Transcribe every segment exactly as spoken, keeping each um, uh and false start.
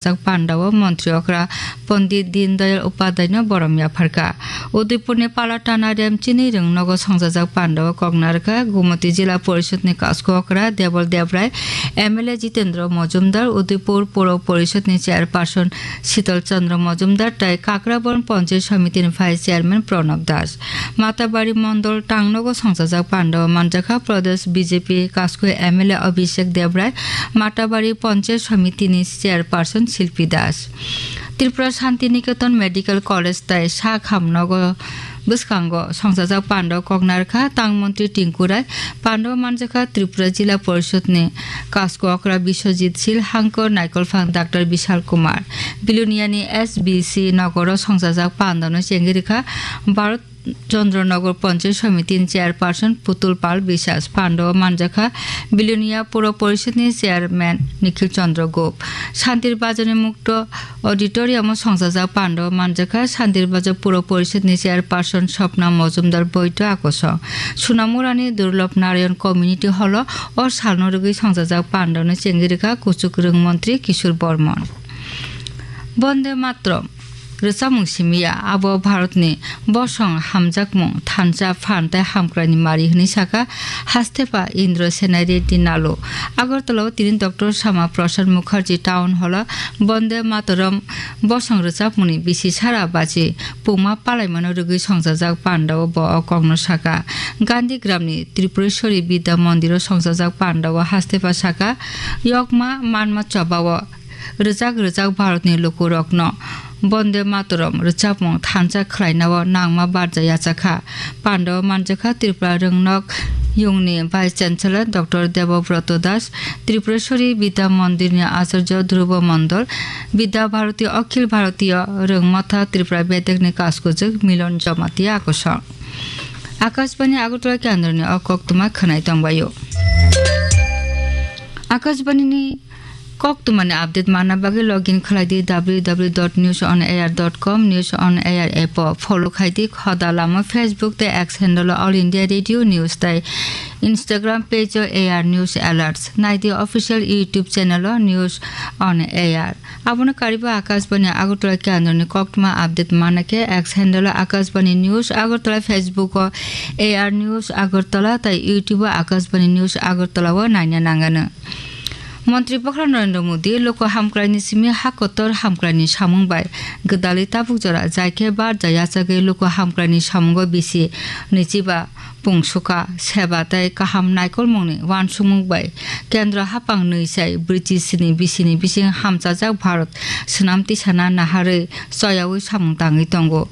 jak pandao montri okra Pondit Dindayal Upadhyay no borom yapharkha. Udaipurni Palatana Remchini rwng nogo songjajak pandao koknarkha Gumoti Jila Porishod ni Kasko okra Debol Debrai, M L A Jitendra Mojumdar, Udaipur Puro Porishod ni Chairperson Sital Chandra Mojumdar tai Kakrabon Ponchayat Samiti ni Vice Chairman Pranab Das. Matabari Mondol tangnogo songjajak pandao manjakha Pradesh B J P Kasko M L A Abhishek Debrai, Matabari Ponchayat Samiti ni Chairperson Silpi Das. Tripura Shanti Niketan Medical College tai sak hamnogo bwskango songjajak pandao koknarkha tang montri Tinku Rai, pandao manjakha Tripura Jila Porishod ni Kasko okra Biswajit Sil, Hangkor Naikolphang Doctor Bishal Kumar. Biluniani S B C nogoro songjajak pandao no chengwi rikha Bharat Chandra Nagar Panchayat Samiti ni Chairperson Putul Pal Biswas, pandao manjakha Bilonia Puro Porishod ni Chairman Nikhil Chandra Gup. Shantir Bazar ni Mukto Auditorium o songjajak pandao manjakha Shantir Bazar Puro Porishod ni Chairperson Swapna Mojumdar Boito Akosong. Sunamura ni Durlabh Narayan Community Hall o o salno rwgwi songjajak pandao no chengwi rikha kuchuk rwng montri Kishore Bormon. Bonde Matram rwchapmung simi ya, abo Bharatni bosong hamjakmung thansa phan tei hamkraini mari hwnwi sakha Hastepa Indra Senai Reddy Nalu. Agartala o tini Doctor Sama Prasad Mukherjee Town Hall o Bonde Mataram bosong rwchapmungni bisi sara bachi pungma palaimano rwgwi songjajak pandao bo o kokno sakha. Gandhi Gramni Tripureshwari Vidya Mondiro songjajak pandao Hastepa sakha, yokma manma chobao rwjak rwjak Bharatni lukurokno Bonde Mataram rwchapmung thansa khlainao nangma barja yachakha. Pandao manjakha Tripura Rwngnok Yungni Vice Chancellor Doctor Debobroto Das, Tripureshwari Vidya Mondirni Acharya Dhruba Mondol, Vidya Bharati Akhil Bharatiya Rwngmatha Tripura Bedekni Kaskujwk Milon Jamatia Akosong. Akashbani Agartala kendroni o koktwma khwnai tongbaio. Akashbanini koktwmani update manna bagwi login khlai di W W W dot news on air dot com, News on Air app o follow khai di, khoda lama Facebook tei X handle o All India Radio News tei Instagram page o A R News Alerts, nai di official YouTube channel o News on Air. Abono kariba Akashbani Agartala kendroni koktwma update manna khe X handle o Akashbani News Agartala, Facebook o A R News Agartala tei YouTube o Akashbani News Agartala o naina nangano. Montri Bokhorok Narendra Modi luku hamkraini simi ha kotor hamkraini samung bai gwdalwi tabuk jora jai khe barja yachagwi luku hamkraini samungo bisi nwichiba pungsuka, seba tei kaham naikolmungni uansukmung bai kendro haphang nwi sai brwichi sini bisini bising hamchajak Bharat swnam tisana naharwi choyaui samung tangwi tongo.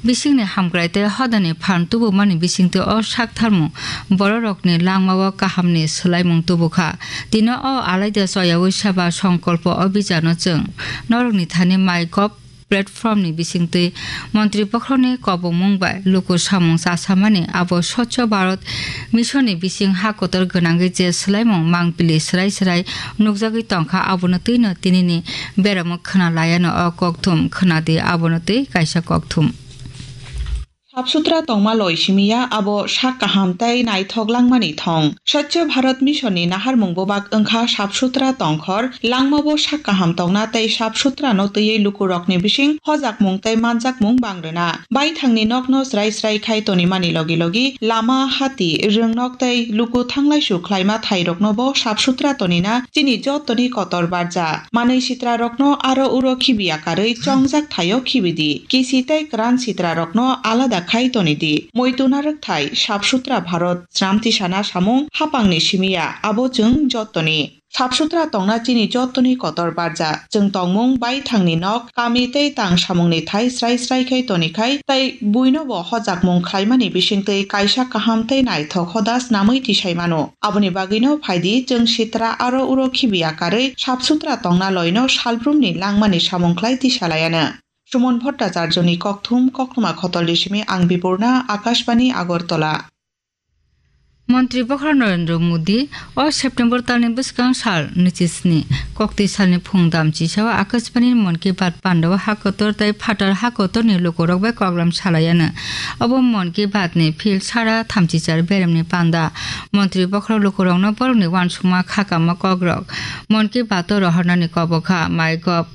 Bisingni hamkrai tei hodani phan tubumani bisingtwi o sak tharmung bororokni langmao kahamni swlaimung tubukha. Tini o alaida choyaui seba songkolpo obhijano chwng norokni thani MyGov platformni bisingtwi Montri Bokhorokni kobongmung bai luku samung chasamani abo Swachh Bharat Missionni bising ha kotor gwnangwi je swlaimung mangpili swrai swrai nukjagwi tongkha, abono twino tinini beramo khwna laiano o kokthum khwnadi, abono twi kaisa kokthum. Sap sutra tongma loi simi ya, abo sak kaham tei naithok langmani thong. Swachh Bharat Mission ni naharmung bubak wngkha sap sutra tongkhor, langmabo sak kaham tongna tei sap sutra no twiwi lukurokni bising hojakmung tei manjakmung bang rwna. Baithangni nokno srai srai khai tonimani logi logi lama, hati, rwngnok tei luku thanglaisu khlaima thairoknobo sap sutra tonina chini jottoni kotor barja. Manwi sitrarokno aro uro khibiya karwi chongjak thaio khibidi. Kisi tei kwran sitrarokno alada khai tonidi. Muitu narwk thai, sap sutra Bharat, sram tisana samung, hapangni simi ya, abo chwng jottoni. Sap sutra tongna chini jottoni kotor barja. Chwng tongmung baithangni nok, kami tei tang samungni thai srai srai khai tonikhai, tei buinobo hojakmung khlaimani bisingtwi kaisa kaham tei naithok hoda snamwi tisai mano. Aboni bagwino phaidi chwng sitra aro uro khibiya karwi sap sutra tongna loino salbrumni langmani samung khlai tisalaiano. Suman Bhattacharjoni kokthum, koktwma khotolni simi ang Biburna, Akashbani Agartala. Montri Bokhorok Narendra Modi o September talni bwskang sal nwichi sni, kokti salni phung dam chisao Akashbani Mon Ki Baat pandao ha kotor tei phatar ha kotorni lukurok bai koklam salaiano. Obo Mon Ki Baat ni phil sara thamchichar beremni panda. Montri Bokhorok lukurokno borokni uansukma khakama kokrok Mon Ki Baat o rohornani kobokha. MyGov